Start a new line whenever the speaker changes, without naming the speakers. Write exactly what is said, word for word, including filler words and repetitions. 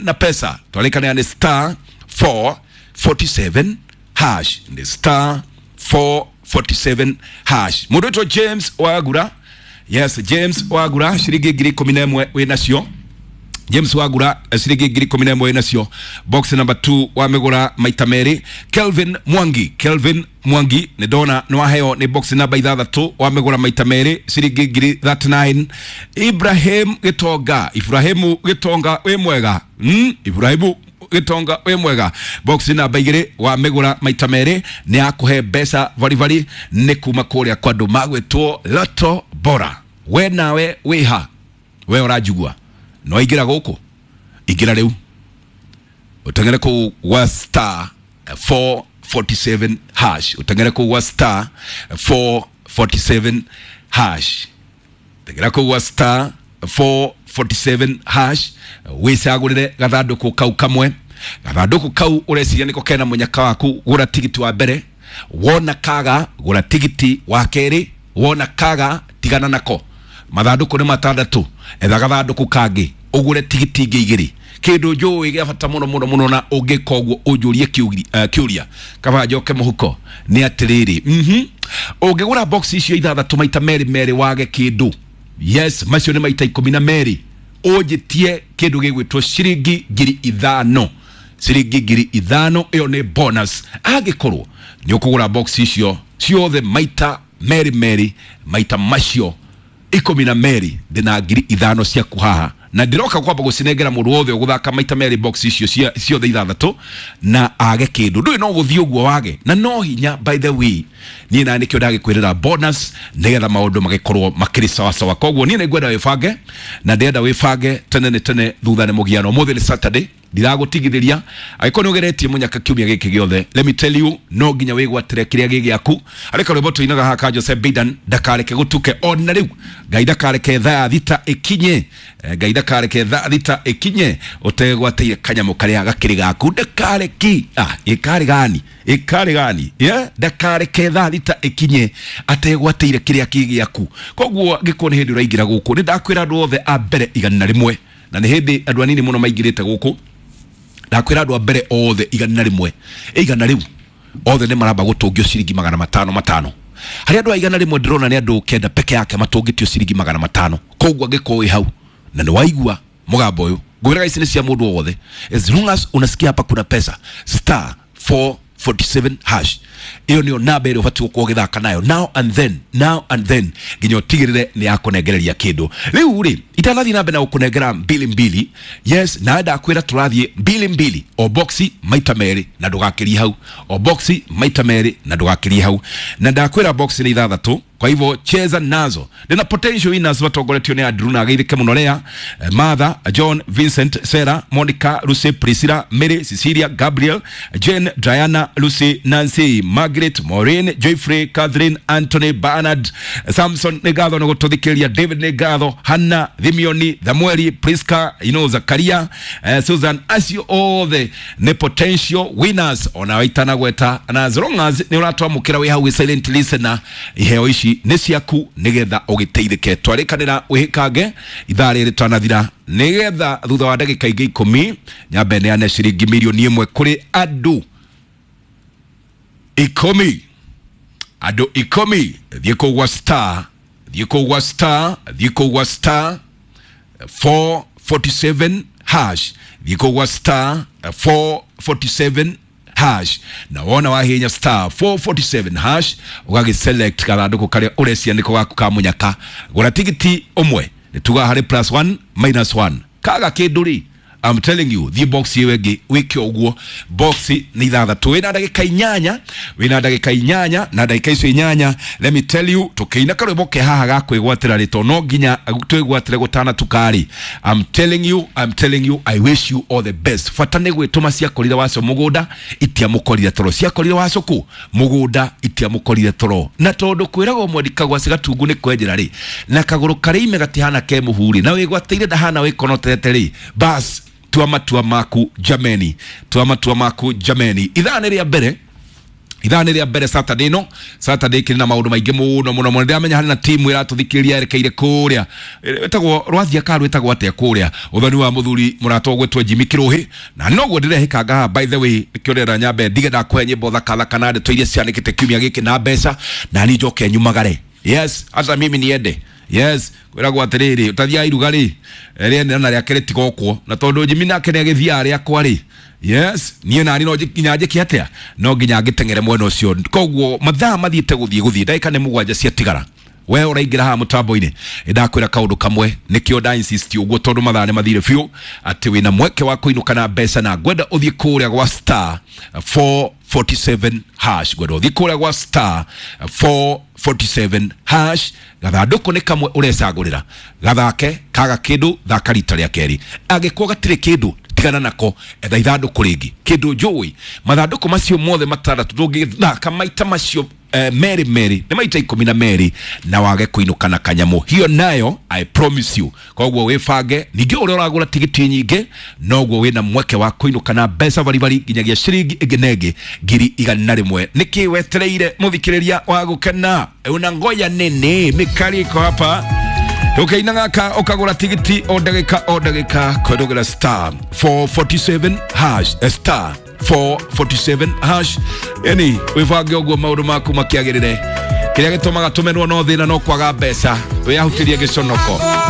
na pesa. Twarĩkanĩra nĩ star four forty-seven hash, nĩ star four forty-seven hash. Mũndũ wĩtwo James Wagura, yes, James Wagura ciringi ngiri ikũmi na ĩmwe wĩ nacio. James Wagura ciringi ngiri ikũmi na ĩmwe wĩ nacio. Box number two wamĩgũra maita merĩ. Kelvin Mwangi, Kelvin Mwangi nĩ ndona nĩ waheo nĩ box number ithathatũ wamĩgũra maita merĩ ciringi ngiri thirty-nine. Ibrahim Gitonga, Ibrahimu Gitonga wĩ mwega, mm, Ibrahimu Gitonga wĩ mwega, box namba igĩrĩ wamĩgũra maita merĩ nĩ akũhe mbeca varibari nĩ kuma kũrĩa kwa andũ magwĩtwo Lotto Bora. We nawe wĩha, we ũranjigua no ingĩra gũkũ, ingĩra rĩu ũteng'ere kũu gwa star four forty-seven hash, ũteng'ere kũu gwa star four forty-seven hash, teng'era kũu gwa star four forty-seven hash, wĩcagũrĩre gathandũkũ kau kamwe. Gathandũkũ kau ũreciria nĩko kena mũnyaka waku, gũra tigiti wa mbere, wona kaga gũra tigiti wa kerĩ, wona kaga tigana nako. Mathandũkũ nĩ matandatũ, etha gathandũkũ kangĩ ũgũre tigiti ingĩ igĩrĩ. Kĩndũ njũĩ gĩa bata mũno mũno mũno na ũngĩka ũguo ũnjũrie kĩũria kaba njoke mũhuko nĩ atĩrĩrĩ, mhm ũngĩgũra box icio ithathatũ maita merĩ merĩ wage kĩndũ, yes, macio nĩ maita ikũmi na merĩ, ũnjĩtie kĩndũ gĩgwĩtwo ciringi ngiri ithano, ciringi ngiri ithano ĩyo nĩ bonus. Angĩkorwo nĩ ũkũgũra box icio ciothe maita merĩ merĩ, maita macio ikũmi na merĩ, ndĩna ngiri ithano ciaku haha, na ndĩroka kwamba gũcinengera mũndũ wothe ũgũthaka maita merĩ box icio ciothe ithathatũ na age kĩndũ. Ndũĩ no gũthiĩ ũguo wage, na no hinya, by the way, niĩ na nĩkĩo ndagĩkwĩrĩra bonus nĩgetha maũndũ magĩkorwo makĩrĩ sawa sawa. Koguo niĩ nĩngwenda wĩbange, na ndĩrenda wĩbange tene nĩ tene thutha nĩ mũgiano. Ũmũthĩ nĩ Saturday, ndiragũtigithĩria angĩkorwo nĩ ũgeretie mũnyaka kiumia gĩkĩ gĩothe, let me tell you, no nginya wĩgwatĩre kĩrĩa gĩ gĩaku. Harĩ karwĩmbo tũinaga haha ka Jose Bidan, ndakareke gũtuke ona rĩu, Ngai ndakareke thaa thita ĩkinye, Ngai ndakareke thaa thita ĩkinye ũtegwatĩire kanyamũ karĩa gakĩrĩ gaku, ndakareki ah ĩkarĩ gani ĩkarĩ gani, yeah, ndakareke thaa thita ĩkinye ategwatĩire kĩrĩa kĩ gĩaku. Koguo angĩkorwo nĩ hĩndĩ ũraingĩra gũkũ, nĩ ndakwĩra andũ othe a mbere igana rĩmwe, na nĩ hĩndĩ andũ anini mũno maingĩrĩte gũkũ, ndakwĩra andũ a mbere othe igana rĩmwe, igana rĩu othe nĩ maramba gũtũngio ciringi magana matano matano. Harĩ andũ a igana rĩmwe ndĩrona nĩ andũ kenda peke yake matũngĩtio ciringi magana matano. Koguo angĩkorwo wĩ hau na nĩ waigua mũgambo ũyũ, ngwĩraga ici nĩ cia mũndũ wothe, as long as unasikia hapa kuna pesa, star four forty-seven hash, ĩyo nĩyo namba ĩrĩa ũbatiĩ gũkorwo ũgĩthaka nayo now and then, now and then, nginya ũtigĩrĩre nĩ yakũnengereria kĩndũ. Rĩu rĩ, itanathiĩ na mbere na gũkũnengera mbili mbili, yes, na ndakwĩra tũrathiĩ mbili mbili, o boxi maita merĩ na ndũgakĩrie hau, o boxi maita merĩ na ndũgakĩrie hau, na ndakwĩra boxi nĩ ithathatũ, kwa hivyo cheza nazo. Ndĩna potential winners matongoretio nĩ Andrew na ageithĩke mũno Lea, Martha, John, Vincent, Sarah, Monica, Lucy, Priscilla, Mary, Cecilia, Gabriel, Jane, Diana, Lucy, Nancy, Margaret, Maureen, Joyfrey, Catherine, Anthony, Bernard, Samson nĩ ngatho nĩ gũtũthikĩrĩria, David nĩ ngatho, Hannah, Thimioni, Samueli, Priska, you know, Zakaria, eh, Susan, acio othe nĩ potential winners ona itanagweta, na as long as nĩ ũratwamũkĩra wĩ hau wĩ silent listener, iheo ici nĩ ciaku nĩgetha ũgĩteithĩke. Twarĩkanĩra wĩhĩkange ithaa rĩrĩ twanathira, nĩgetha thutha wa ndagĩka ingĩ ikũmi nyambe neane ciringi mirioni ĩmwe kũrĩ andũ ikũmi, andũ ikũmi. Thiĩ kũu gwa star, thiĩ kũu gwa star, thiĩ kũu gwa star four forty-seven hash, thiĩ kũu gwa star four forty-seven hash, na wona wahinya star four forty-seven hash ũgagĩ select gathandũkũ karĩa ũrecia nĩko gaku ka mũnyaka, gũra tigiti ũmwe, nĩ tugaga harĩ plus one minus one, kaga kĩndũ rĩ, I'm telling you, thiĩ box ĩyo ĩngĩ wĩke ũguo. Box nĩ ithathatũ, wĩna ndagĩka inyanya, wĩna ndagĩka inyanya, na ndagĩka icio inyanya, let me tell you, tũkĩina karwĩmbo ke haha ga kwĩgwatĩra rĩ, tondũ no nginya twĩgwatĩre gũtanatuka rĩ, I'm telling you, I'm telling you, I wish you all the best. Bata nĩ gwĩtũma ciakorire waco mũgũnda itiamũkorire toro, ciakorire waco kũ mũgũnda itiamũkorire toro, na tondũ kwĩragwo mwendi kagwaci gatungu nĩ kwenjera rĩ, na kagũrũ karĩa ime gatihana ke mũhu rĩ, na wĩgwatĩire ndahana wĩkonoterete rĩ, bas tua matua maku jameni, tua matua maku jameni. Ithaa nĩ rĩa mbere Ithaa nĩ rĩa mbere Saturday no Saturday kĩrĩ na maũndũ maingĩ mũno mũno mũno. Ndĩramenya harĩ na timu ĩratũthikĩrĩria yerekeire kũrĩa ĩtagwo rwathia ka rwĩtagwo atĩa kũrĩa ũthoni wa mũthuri mũrata ũgwĩtwo Jimmy Kĩrũhĩ, na noguo ndĩrehĩkanga haha. By the way, nĩkĩo ndĩrenda nyambe ndige ndakũhe nyĩmbo thaka thaka na ndeto iria cianĩkĩte kiumia gĩkĩ na mbeca, na niĩ njoke nyumagare. Yes, hata mimi niende. Yes, kwĩragwo atĩrĩrĩ, ũtathiaga iruga rĩ rĩene na rĩake rĩtigokwo, na tondũ Jimmy nake nĩ agĩthiaga rĩakwa rĩ. Yes, niĩ nani no nginya njĩke atĩa, no nginya ngĩteng'ere mwena ũcio. Koguo mathaa mathiĩte gũthiĩ gũthiĩ, ndagĩka nĩ mũgwanja ciatigara. We ũraingĩra haha mũtambo-inĩ, ndakwĩra kaũndũ kamwe, nĩkĩo nda insist ũguo, tondũ mathaa nĩ mathire biũ, atĩ wĩna mweke wa kũinũka na mbeca, na ngwenda ũthiĩ kũrĩa gwa star four forty-seven hash, ngwenda ũthiĩ kũrĩa gwa star four forty-seven hash. Gathandũkũ nĩ kamwe ũrecagũrĩra, gathake kaga kĩndũ, thaka rita rĩa kerĩ. Angĩkorwo gatirĩ kĩndũ, tigana nako, etha ithandũkũ rĩngĩ. Kĩndũ njũĩ, mathandũkũ macio mothe matandatũ ndũngĩthaka maita macio eh, merĩ merĩ, nĩ maita ikũmi na merĩ, na wage kũinũka na kanyamũ. Hiyo nayo I promise you. Koguo wĩbange. Ningĩ ũrĩa ũragũra tigiti nyingĩ, noguo wĩna mweke wa kũinũka na mbeca baribari nginyagia ciringi ĩngĩ na ĩngĩ ngiri igana rĩmwe. Nĩkĩ wetereire, mũthikĩrĩria wa gũkena? Una ngoja nini? Mikali iko hapa ukaina gaka, ukagura tigiti o ndagĩka o ndagĩka kũhĩtũkĩra star four forty-seven hash, eh, star four forty-seven hash. Yani wĩbange ũguo maũndũ maku makĩagĩrĩre. Kĩrĩa gĩtũmaga tũmenwo no thĩna, no kwaga mbeca. Wĩyahutĩrie gĩconoko.